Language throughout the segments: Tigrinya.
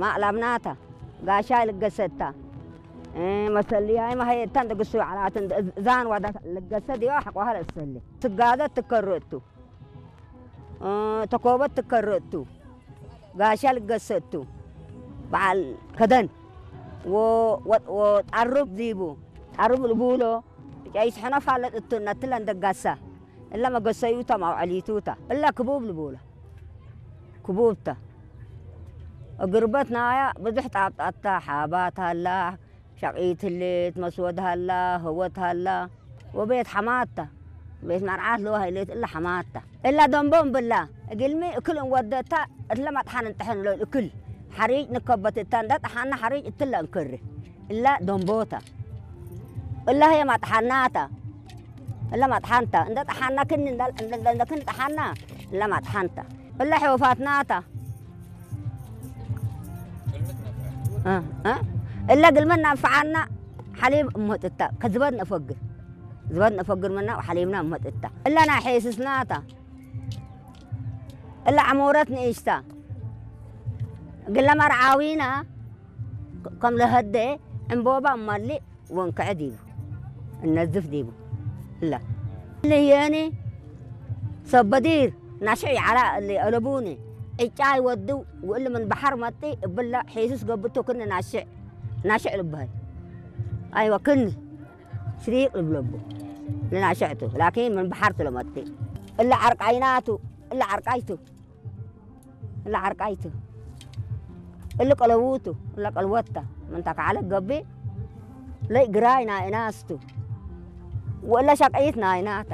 ማእላብናታ ጋሻ ልገሰታ መሰልያይ ማሀየታን ደግሱ ዓላትን ዛን ዋዳ ልገሰ ዲዋ ሓቋሃ ለሰለ ስጋዘ ትከረቱ ተኮበት ትከረቱ ጋሻ ልገሰቱ በዓል ከደን ወጣሩብ ዲቡ ጣሩብ ልቡሎ ጫይ ስሕኖ ፋለጥ እቱ ነትለን ደጋሳ እላ መገሰዩታ ማውዐሊቱታ እላ ክቡብ ልቡላ ክቡብታ እግርበት ናያ ብዙሕ ጣብጣታ ሓባት ሃላ ሸቂት ህሌት መስወድ ሃላ ህወት ሃላ ወቤት ሓማታ ቤት መርዓት ለዋ ሃይሌት እላ ሓማታ እላ ደንቦም ብላ እግልሚ እክል እንወደታ እትለ ማጥሓን እንጥሕን ሎ እክል ሓሪጭ ንከበት እታ እንዳ ጠሓና ሓሪጭ እትለ እንክሪ እላ ደንቦታ እላ ህየ ማጥሓናታ እላ ማጥሓንታ እንዳ ጠሓና ክኒ እንዳ ክኒ ጠሓና እላ ማጥሓንታ እላ ሕወፋትናታ እለ ግልመና እንፈዓና ሓሊብ እመጥታ ከዝበድ ነፈግር ዝበድ ነፈግር መና ሓሊብና እመጥታ እለ ናይ ሐይስስናታ እለ ዓሞረት ንእሽታ ግለ መርዓዊና ከም ለሀደ ዕንቦባ እማሊ ወንክዐ ዲቡ እነዝፍ ዲቡ እለ ልየኒ ሰበዲር ናሽዕ ይዓላ እሊ አለቡኒ ዕጫ ይወድው ውእሊ ምን በሐር መጢ እብላ ሒሱስ ገብቶ ክኒ ናሽዕ ናሽዕ ልበሃል ኣይወ ክኒ ሽሪቅ ልብለቡ ልናሽዕቱ ላኪን ምን በሐር ትለመጢ እለ ዓርቃይናቱ እለ ዓርቃይቱ እለ ዓርቃይቱ እለ ቀለውቱ እለ ቀልወታ ምንታ ከዓለ ገቢ ለይ ግራይ ናይናስቱ ወእለ ሸቀይት ናይናታ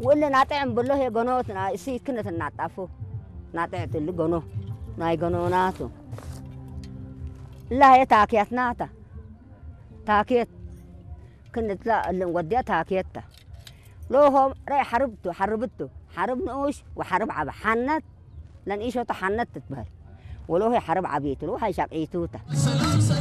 ወእለ ናጥዕም ብሎ ሄ ገኖት ናይ እሲ ክነት እናጣፉ ናጥዕት እሊ ገኖ ናይ ገኖናቱ እላ ሄ ታክያትናታ ታክየት ክንትላ እልን ወዲያ ታክየታ ሎሆም ረይ ሓርብቱ ሓርብቱ ሓርብ ንኡሽ ወሓርብ ዓበ ሓነት ለንኢሾታ ሓነት ትትበሃል ወሎሄ ሓርብ ዓብየቱ ሎ ሃይ ሻቅይቱታ